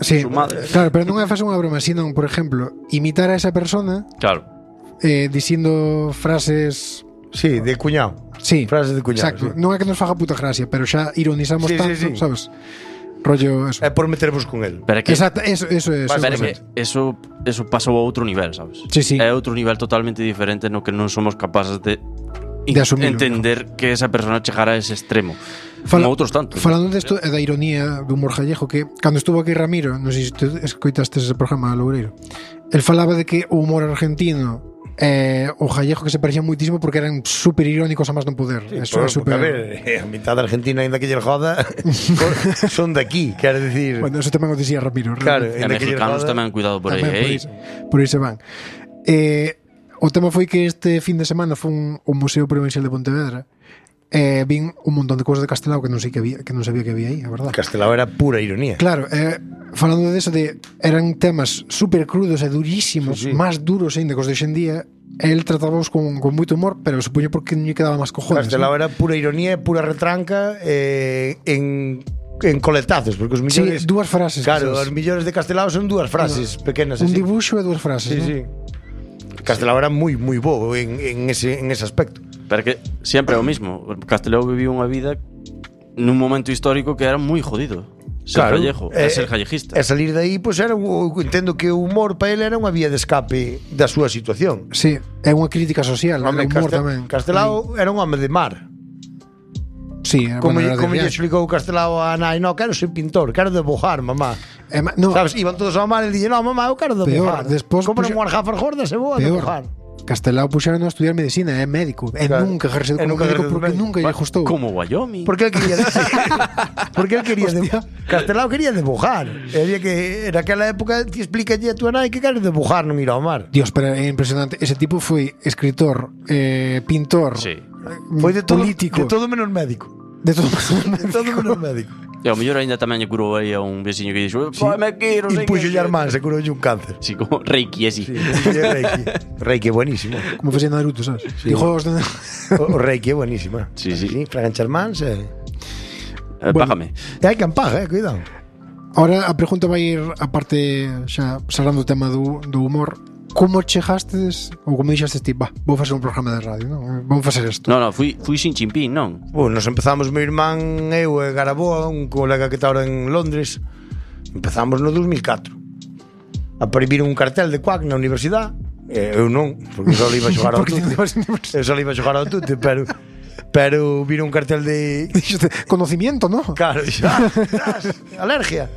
Sí, sumadas. claro, pero non é facer unha broma, sino, por exemplo, imitar a esa persona dicindo frases... Sí, de cuñado. Sí, frases de cuñado. Exacto, sí. non é que nos faga puta gracia, pero xa ironizamos tanto, sabes? Rollo eso. É por metervos con el. Pero que, exacto, eso é. Pero que eso pasou a outro nivel, sabes? Sí. É outro nivel totalmente diferente no que non somos capaces de entender que esa persona chegara a ese extremo. Como outros tantos. Falando desto é da ironía do humor gallego, que cando estuvo aquí Ramiro, non sei se te escoitaste ese programa Loureiro, el falaba de que o humor argentino o gallego que se parecían moitísimo porque eran super irónicos a máis non poder. Sí, eso é super... A ver, a mitad da Argentina ainda que lle joda son de aquí, quero dicir. Bueno, eso tamén o dicía Ramiro. Claro, e mexicanos tamén cuidado por aí. Por aí se van. O tema foi que este fin de semana foi un Museo Provincial de Pontevedra. Vin un montón de cousas de Castelao que non sabía que había aí, a verdade. Castelao era pura ironía. Claro, falando de eso, eran temas super crudos e durísimos, máis duros ainda que os de hoxendía. El tratábamos con moito humor, pero supoño porque non lle quedaba máis cojones. Castelao era pura ironía, pura retranca en coletazos, porque os millores... Sí, dúas frases. Claro, os millores de Castelao son dúas frases pequenas. Un dibuixo e dúas frases, sí. Castelao era moi bo en ese aspecto. Pero que sempre é o mismo. Castelao viviu unha vida nun momento histórico que era moi jodido. Ser gallego, ser gallejista. E salir de aí, pois era, entendo que o humor para ele era unha vía de escape da súa situación. Sí, é unha crítica social, o humor tamén. Castelao era un home de mar. Sí, como lle explicou Castelao a nai, no, quero ser pintor, quero debujar, mamá. Sabes, iban todos ao mar e dille, no, mamá, eu quero debujar. Compra unhas gafas gordas e vou a debujar. Castelao puxeron a estudiar medicina, é médico. Nunca ejerceu como médico porque nunca lle gustou. Como Wyoming. Porque él quería Castelao quería debujar. Que en aquela época te explícalle a tua nai que queres debujar, non ir ao mar. Dios, pero é impresionante. Ese tipo foi escritor, pintor, foi de todo, político. De todo menos médico. De todo menos médico. E ao mellor ainda tamén lle curou aí a un veciño que dixo me quero, e puxo lle irmán, se curou un cáncer. Sí, como Reiki, así. Sí, Reiki é buenísimo. Como facía Naruto, sabes? Sí. O Reiki é buenísimo. Sí. Fraganchar mans págame. E hai quen paga, cuidado. Ahora a pregunta vai ir a parte xa salando o tema do humor. Como chegastes, ou como dixastes ti, vou facer un programa de radio, non? Vamos facer isto. Non, fui sin chimpín, non? Nos empezamos meu irmán, eu e Garaboa, un colega que está ahora en Londres. Empezamos no 2004. A prohibir un cartel de Quack na universidade. Eu non, porque só iba a xogar ao tute. Eu só iba a xogar ao tute, pero vira un cartel de... Conocimiento, non? Claro, xa, alergia.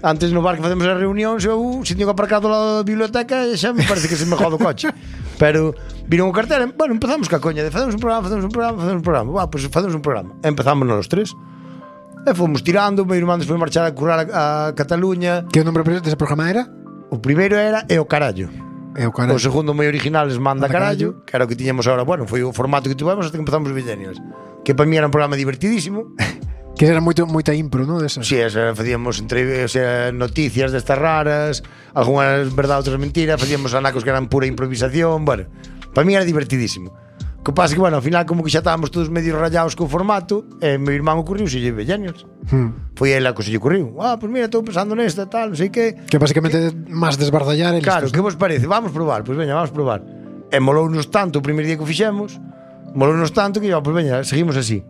Antes no bar que facemos as reunións, eu se teño que aparcar do lado da biblioteca, xa me parece que se me jodo o coche. Pero viron un cartel, bueno, empezamos ca coña de facemos un programa. Pues facemos un programa. Empezamos nos tres. E fomos tirando, meu irmán despois marchar a currar a Cataluña. Que o nombre dese programa era? O primeiro era E o carallo. O segundo moi original es Manda carallo, que era o que tiñamos agora, bueno, foi o formato que tivemos hasta que empezamos os Millennials. Que para mí era un programa divertidísimo. Que era moita impro, non? Sí, facíamos noticias destas raras, algunhas verdade, outras mentiras, facíamos anacos que eran pura improvisación. Bueno, para mí era divertidísimo. O que pasa que, bueno, ao final como que xa estábamos todos medio rayados co formato, e meu irmán ocurriu se lle Millennials. Foi ele a que se lle ocurriu. Pues mira, estou pensando nesta, tal, non sei que. Que basicamente máis desbardallar eles. Claro, que vos parece? Vamos probar, pois veña, vamos probar. E molounos tanto o primeiro día que o fixemos, molounos tanto que, pois veña, seguimos así.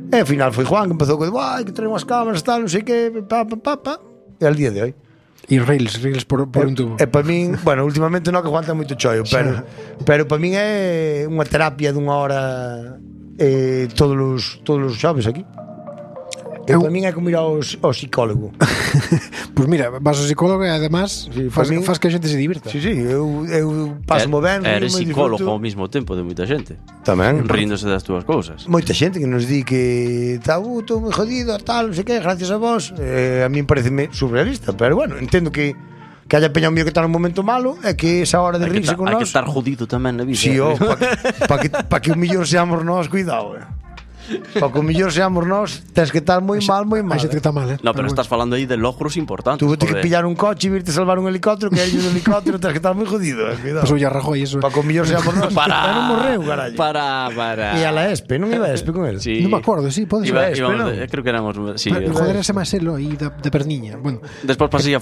E ao final foi Juan que empezou con que traen unhas cámaras, tal, non sei que, e al día de hoy. E reels por un tubo. E para min, bueno, últimamente non que Juan ten moito chollo, pero para min é unha terapia dunha hora todos os xoves aquí. Para min é como ir ao psicólogo. Pois mira, vas ao psicólogo e además faz que a xente se divirta. Sí, eu paso ben. Eres psicólogo ao mesmo tempo de moita xente. Tamén. Ríndose das túas cousas. Moita xente que nos di que estou moi jodido, tal, non sei que, gracias a vos. A mí pareceme surrealista, pero bueno, entendo que haya peña mío que está nun momento malo e que esa hora de rirse con nós. Hai que estar jodido tamén na vida. Sí, para que o mellor seamos nós, cuidado, Para que o mellor seamos nós, tens que estar moi mal. Hai xente que está mal, No, pero estás falando aí de logros importantes. Tú tens que pillar un coche e virte salvar un helicóptero, que hai un helicóptero, tens que estar moi jodido, cuidado. Pues oye, Rajoy, eso. Para que o mellor seamos nós. Non morreu, carallo. Para. E a la ESPE, non iba a ESPE con él? Sí. Non me acordo, sí, pode ser. Creo que éramos, sí. Joder, ese máis elo aí da perniña. Bueno, despois pasei a